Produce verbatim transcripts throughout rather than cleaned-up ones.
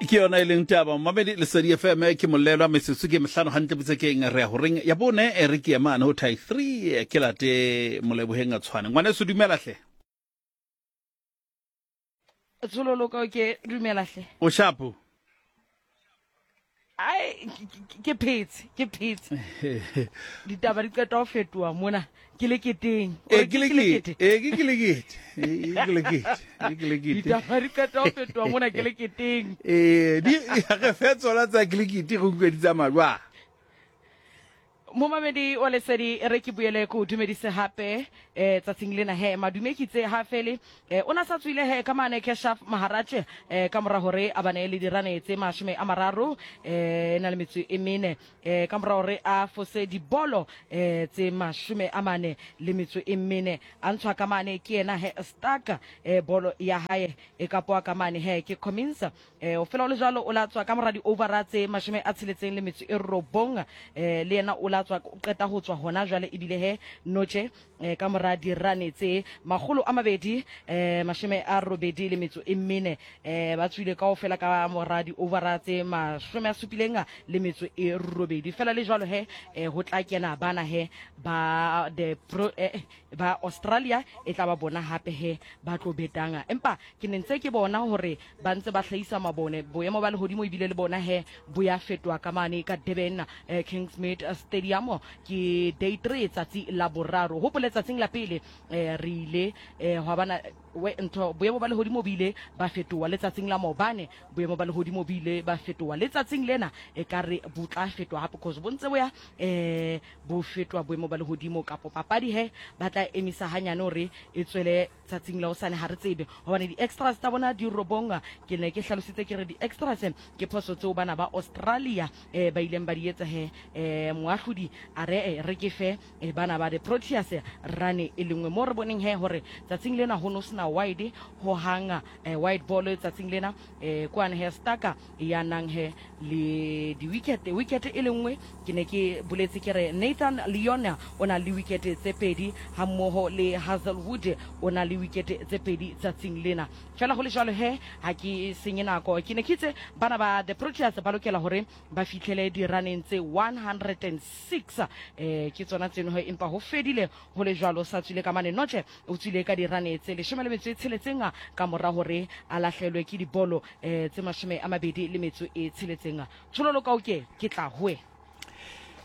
Ke yona e leng taba mamedi Lesedi F M ke molelwa metsotso ke mehlano hantle botsekeng re ya horeng ya bone e re ke emane ho thai three ke late Moleboheng a tshwane. Ngwaneso dumela hle. Tshololo ka ke dumela hle. O shapo. Ai ke phetse, ke phetse. Ditaba di qeta ho fetoha mona. Ke le keteng. E ke le kete. E ke ke le kete. E ke le kete. E ke le kete. Ditaba di qeta ho fetoha mona ke le keteng. Eh di re fetsola tsa ke le kete go utlwe di tsamaya jwang. Momamedi wa Lesedi re ke buele ko dumedise hape eh tsatsing lena he madume ke tse ha fele eh ona sa tswile he ka mane Keshav Maharaj eh ka mora hore a bane le dirane tse mashome a mararo eh na le metso e mene eh ka mora hore a fose dibolo eh tse mashome a mane le metso e mene a ntshwa ka mane ke yena he Stark eh bolo ya hae e kapoa ka mane he ke Cummins eh o fela o le jwalo o la tswa ka mora di over tse mashome a tsheletseng le metso e robong eh le yena o la tswa o qeta ho tswa hona jwale ebile he noche eh ka mora dirane tse makgolo a mabedi eh mashome a robedi le metso e mene eh ba tswile kaofela ka mora di over tse mashome a supileng le metso e robedi fela le jwalo he eh, ho tla kena bana he ba the pro eh, ba Australia e tla ba bona hape he ba tlo betanga empa ke ne ntse ke bona hore ba ntse ba hlahisa mabone boemo ba lehodimo ebile le bona he bo ya fetoha ka mane ka Durban eh, Kingsmead Stadium ke day three tsatsi la boraro hopole tsatsing la pele eh, re ile eh, hwa bana we ntho boemo ba lehodimo bo ile ba fetoha letsatsing la maobane boemo ba lehodimo bo ile ba fetoha letsatsing lena e ka re bo tla fetoha hape cause bo ntse bo ya eh bo fetoha boemo ba lehodimo kapo papadi he ba tla emisa hanyane hore e tswele tsatsing la hosane ha re tsebe hobane di-extras tsa bona di robong ke ne ke hlalositse ke re di-extras ke phoso tseo bana ba Australia eh, ba ileng ba di etsa he eh, moahlodi a re re ke fe eh, bana ba the Proteas rane e lengwe mo re boneng he hore tsatsing lena ho no sena wide ho hanga eh, wide ball tsatsing lena eh, kwane he Stark ya nang he le di-wicket wicket e lengwe ke ne ke boletse ke re Nathan Lyon o na le wicket tse pedi hammoho le Hazelwood o na le wicket tse pedi tsatsing lena fela ho le jwalo he ha ke senye nako ke ne ke itse bana ba the Proteas ba lokela hore ba fihlele diraneng tse one hundred and six eh ke tsona tseno he empa ho fedile ho le jwalo sa tswile ka mane Noche o tswile ka dirane tse leshome le metso e tsheletseng ka mora hore a lahlelwe ke dibolo eh tse mashome a mabedi le metso e tsheletseng tshololo ka oke ke tla hoe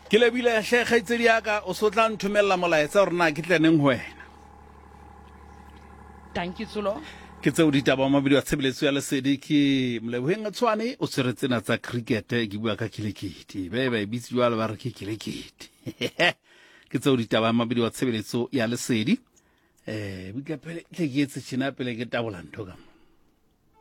ke lebile hle kgaitsedi ya ka o so tla nthomella molaetsa hore na ke tle neng ho wena. Thank you Tsolo. Ke tseo ditaba mabedi wa tshebeletso ya Lesedi ke Moleboheng Tshwane o tshwere tsena tsa cricket ke bua ka cricket be ba e bitse jwalo ba re ke cricket ke tseo ditaba mabedi wa tshebeletso ya Lesedi eh butla pele tle ke etse tjena pele ke tabola ntho ka mo.